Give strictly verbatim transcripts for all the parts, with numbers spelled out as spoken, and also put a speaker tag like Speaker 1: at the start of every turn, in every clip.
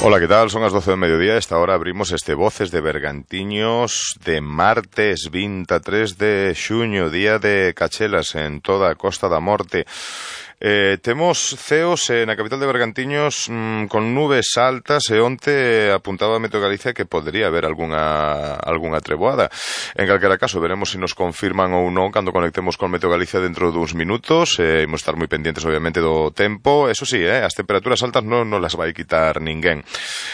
Speaker 1: Ola, que tal? Son as doce do mediodía. Esta hora abrimos este Voces de Bergantiños de martes vinte e tres de xuño, día de cachelas en toda a Costa da Morte. Eh, temos ceos eh, na capital de Bergantiños mmm, con nubes altas e onte apuntaba a Meteo Galicia que podría haber algunha, algunha treboada. En calquera caso, veremos se nos confirman ou non cando conectemos con Meteo Galicia dentro duns minutos. Eh, imos estar moi pendientes, obviamente, do tempo. Eso sí, eh, as temperaturas altas non nos las vai quitar ninguén.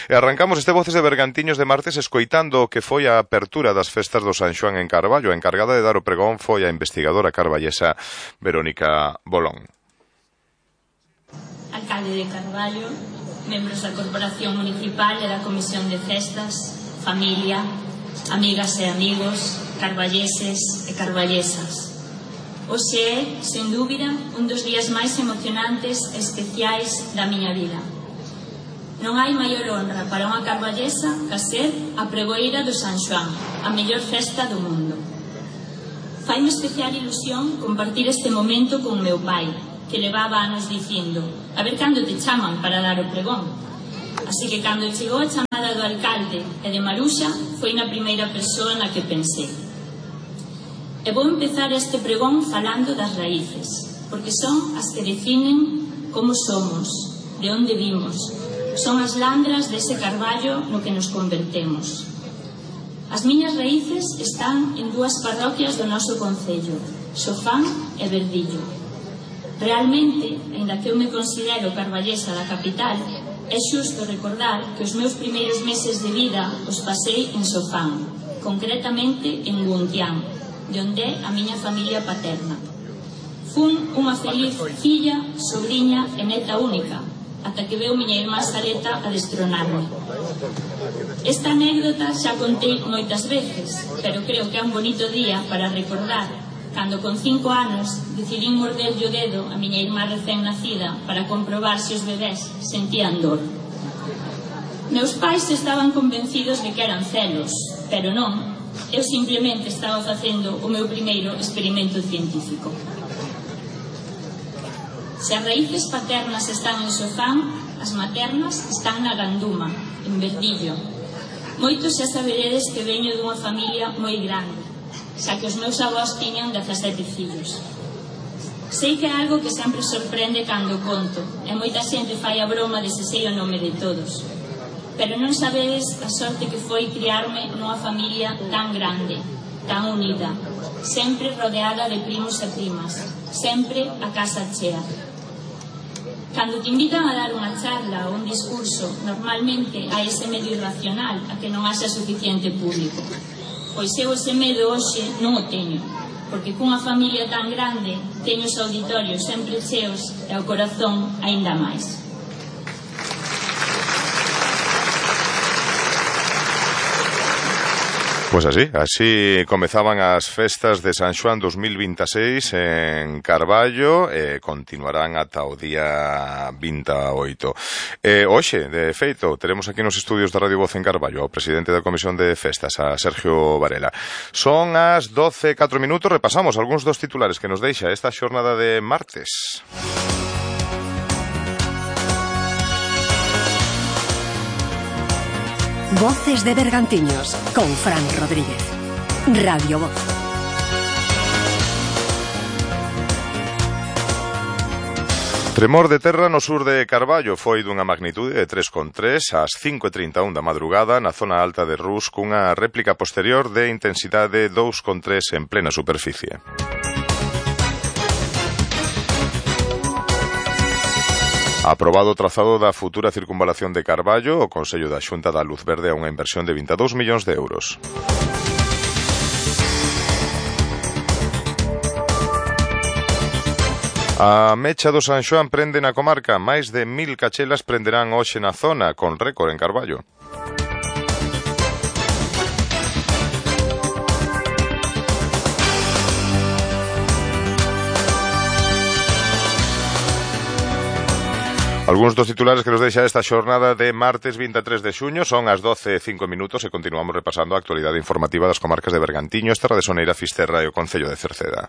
Speaker 1: E arrancamos este Voces de Bergantiños de martes escoitando o que foi a apertura das festas do San Xoán en Carballo. A encargada de dar o pregón foi a investigadora carballesa Verónica Bolón.
Speaker 2: Alcalde de Carballo, membros da Corporación Municipal e da Comisión de Festas, familia, amigas e amigos, carballeses e carballesas. Hoxe é, sen dúbida, un dos días máis emocionantes e especiais da miña vida. Non hai maior honra para unha carballesa que ser a pregoeira do San Xoán, a mellor festa do mundo. Faime especial ilusión compartir este momento con meu pai, que levaba anos dicindo, a ver cando te chaman para dar o pregón. Así que cando chegou a chamada do alcalde e de Maruxa, foi na primeira persoa na que pensei. E vou empezar este pregón falando das raíces, porque son as que definen como somos, de onde vimos, son as landras dese carballo no que nos convertemos. As miñas raíces están en dúas parroquias do noso concello, Sofán e Verdillo. Realmente, aínda que eu me considero carballesa da capital, é xusto recordar que os meus primeiros meses de vida os pasei en Sofán, concretamente en Guntián, de onde é a miña familia paterna. Fun unha feliz filla, sobrinha e neta única, ata que veu miña irmá Sareta a destronarme. Esta anécdota xa contei moitas veces, pero creo que é un bonito día para recordar cando con cinco anos decidín morderlle o dedo a miña irmá recén nacida para comprobar se os bebés sentían dor. Meus pais estaban convencidos de que eran celos, pero non, eu simplemente estaba facendo o meu primeiro experimento científico. Se as raíces paternas están en Sofán, as maternas están na Ganduma, en Verdillo. Moitos xa saberedes que veño dunha familia moi grande, xa que os meus avós tiñan dezasete fillos. Sei que é algo que sempre sorprende cando conto, e moita xente fai a broma de se sei o nome de todos. Pero non sabedes a sorte que foi criarme nunha familia tan grande, tan unida, sempre rodeada de primos e primas, sempre a casa chea. Cando te invitan a dar unha charla ou un discurso, normalmente hai ese medio irracional a que non haxa suficiente público. Pois eu ese medo hoxe non o teño, porque cunha familia tan grande teño os auditorios sempre cheos e o corazón aínda máis.
Speaker 1: Pois así, así comezaban as festas de San Xoán dos mil vinte e seis en Carballo e continuarán ata o día vinte e oito. E hoxe, de feito, teremos aquí nos estudios da Radio Voz en Carballo ao presidente da Comisión de Festas, a Sergio Varela. Son as doce e catro minutos, repasamos algúns dos titulares que nos deixa esta xornada de martes.
Speaker 3: Voces de Bergantiños con Fran Rodríguez. Radio Voz.
Speaker 1: Tremor de terra no sur de Carballo foi dunha magnitude de tres coma tres ás cinco e trinta e un da madrugada na zona alta de Rus cunha réplica posterior de intensidade dous coma tres en plena superficie. Aprobado o trazado da futura circunvalación de Carballo, o Consello da Xunta dá luz verde a unha inversión de vinte e dous millóns de euros. A mecha do San Xoán prende na comarca. Máis de mil cachelas prenderán hoxe na zona, con récord en Carballo. Algúns dos titulares que nos deixa esta xornada de martes vinte e tres de xuño son as doce e cinco minutos e continuamos repasando a actualidade informativa das comarcas de Bergantiño, Terra de Soneira, Fisterra e o Concello de Cerceda.